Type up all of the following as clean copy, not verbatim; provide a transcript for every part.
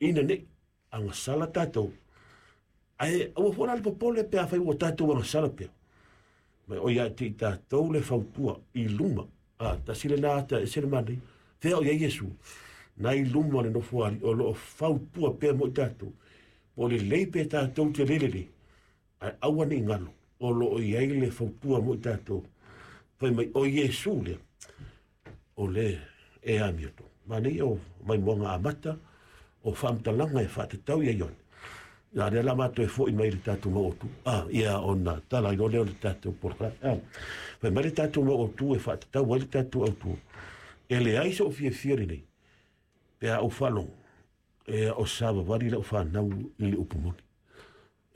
Ina nei agasala tatou, ae aua foi la le popole pe afai ua tatou agasala pea. Ma o ia te i tatou le fautua i luma. A, tasi lena ata e ese le manaia. Fea o i ai Iesu, na i luma o le nofoalii o lo o fautua pea mo i tatou. Po o lelei pe tatou te le lelei, ae aua ne i galo, o lo o i ai le fautua mo i tatou. Fai mai, o Iesu lea, o le e amiotonu. Manaia o maimoaga amata, o faamatalaga e faatatau ia Ioane. Ia lea la matou e foi mai le tatou mau autu. Ah, ia ona tala ai loa lea o le tatou polokalame. Ah, fai mai le tatou mau autu e faatatau ai le tatou autu. E leai sou fiafia lenei, pe a ou faalogo, e o savavali lau fanau i le upu moni.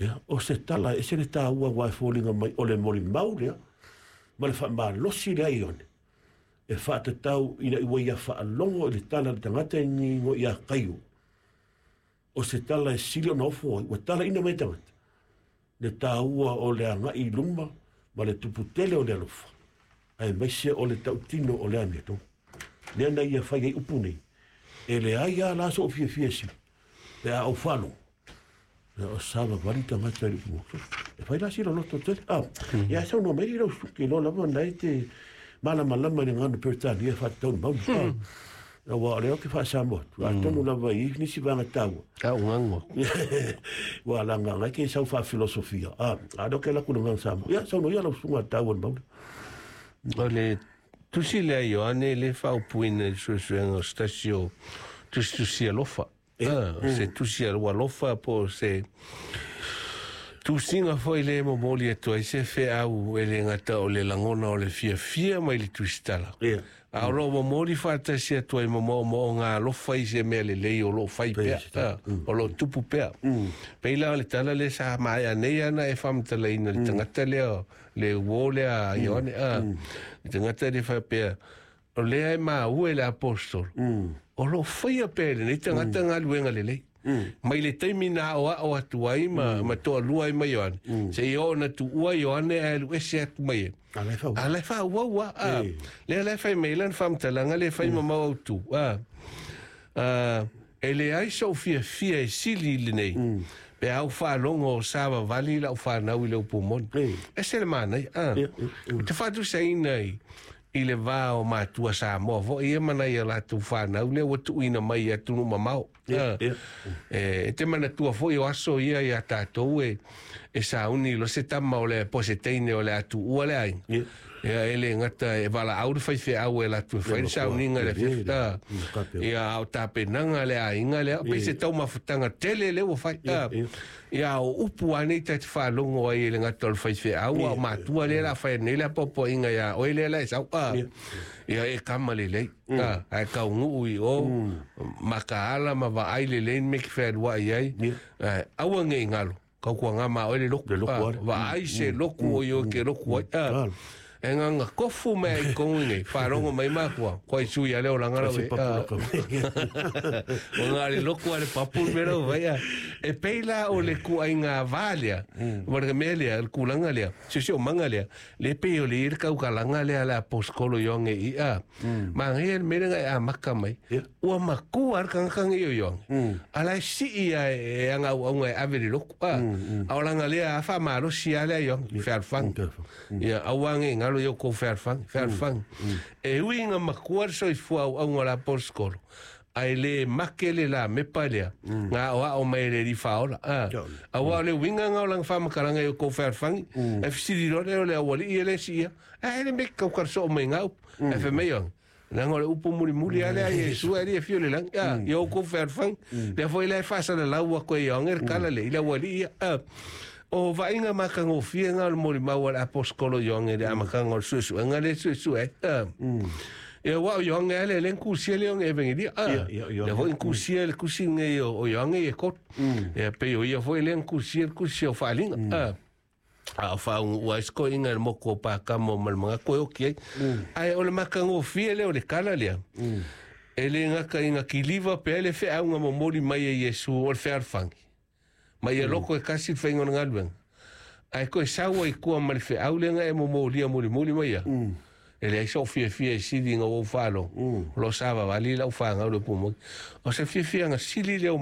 Ia, o se tala e ese le taua aua e foliga mai o le molimau lea ma le faamalosi lea i Ioane e faatatau ina ua ia faalogo i le tala a le tagata e igoa ia Kaio. O se tala e sili ona ofo ai, ua talaina mai e tagata le taua o le agai i luma ma le tupu tele o le alofa, aemaise o le tautino o le amiotonu. Lea na ia fai ai upu nei, e leai lava la sou fiafia e sili, pe a ou faalogo, o savavali tagata i le upu moni. E fai la sila loto tele. Ah, ia saunoa mai lau suki loa lava na e te malamalama i le gagana Peretania e faatatau i le maunu. Ah, aua o lea ou te faasamoa atu. Atonu lava i nisi vaega taua. A o gago. Ua laga ngai ke sau faafilosofia. Ah, a lea ou te alu atu i le gagana Samoa. Ia, saunoa ia lau susuga taua i le maunu. O le tusi lea a Ioane le faaupuina i le suesuega o se tasi o tusitusi alofa. Se tusi alofa po o se tusiga foi le momoli atu ai se feau e le gata o le lagona o le fiafia mai le tusitala. A o loo momoli faatasi atu ai ma moomooga alofa i se mea lelei o loo fai pea, o loo tupu pea. Pei la o le tala lea sa maea nei ana e faamatalaina le tagata lea, le uo lea a Ioane, le tagata lea faapea, o lea e maua e le aposetolo, o loo faia pea e lenei tagata galuega lelei. Mai le taimi na aoao atu ai ma toalua ai ma Ioane, seia oo na tuua Ioane ae alu ese atu mai ai. A la e faaauau lava. Lea la e fai mai ai lana faamatalaga lea e fai ma mau autu. E leai sou fiafia e sili i lenei, pe a ou faalogo o savavali lau fanau i le upu moni. Ese le manaia. Ou te faatusaina i le va o matua Samoa foi ia ma nai a latou fanau lea ua tuuina mai i atunuu mamao. E te manatua foi o aso ia iā tatou e sauni loa se tama o le po o se teine o le a tuua le aiga. Ia e le gata e valaau le faifeau e alu atu e fai le sauniga i le afiafi. Ia a o tapenaga a le aiga lea, pei se taumafataga tele lea ua fai. Ia o upu lava nei ta te faalogo ai e le gata o le faifeau a o matua lea o le a fai atu nei le apoapoaiga iā oe lea la e sau. Ia e kama lelei, ae taunuu i o, makaala ma vaai lelei le mea e te fealuai ai, ae aua ne i galo, tautuaga ma oe le loku, vaai se loku o i o e te loku ai. E nganga kofu mea i tonu i nei, faalogo mai makua, koe sui a le olaga lau e. O ngā le loku a le papu le mea lau vai a. E pei la o le kuaiga vā lea, ma le mea lea, le kulaga lea, siosiomaga lea, le pei o le i le kaukalaga lea a le aposetolo Ioane i a. Manaia le mea lea na e amata mai, ua matua lava le tagata nei o Ioane, a la e sii lava e ana auauna e ave i le lotu, a. A o lana lea faamalosi lava lea Ioane, fealofani. Ia, aua ne i galo i outou fealofani, fealofani. E ui ina matua le soifua auauna o le aposetolo, ae le make le lamepa lea, na aoao mai e le Alii Faaola. A, aua o le uiga lena o lana faamatalaga i outou fealofani, e fesili loa lea o le aualii e le siia, ae le mea e tautala soo mai na upu. Ae fai mai Ioane, leaga o le upu mulimuli lava lea a Iesu ae le i afio i le lagi. A, i outou fealofani, lea foi la e faasalalau atu e Ioane le tala lea i le aualii ia. A, o vaaiga matagofie na o le molimau a le aposetolo Ioane i le amataga o le suesuega lea e suesue ai. A, ia aua o Ioane lava lea lea na tusia le Ioane Evangelia. A, lea foi na tusia le tusi lenei o Ioane ia e tolu. Ia pei o ia foi lea na tusia le tusi o Faaaliga. A, a o faauguu ai se toeaina i le motu o Patamo ma le manatu e oti ai. Ae o le matagofie lea o le tala lea, e le gata ina kiliva pea le feauga momoli mai e Iesu o le fealofani, ma ia loko e tasi le faiga o le galuega, ae toe sau ai i tua ma le feau lea na e momolia mulimuli mai ia. E leai sou fiafia e sili ina ua ou faalogo, o lo o savavali lau fanau i le upu moni. O se fiafiaga sili lea o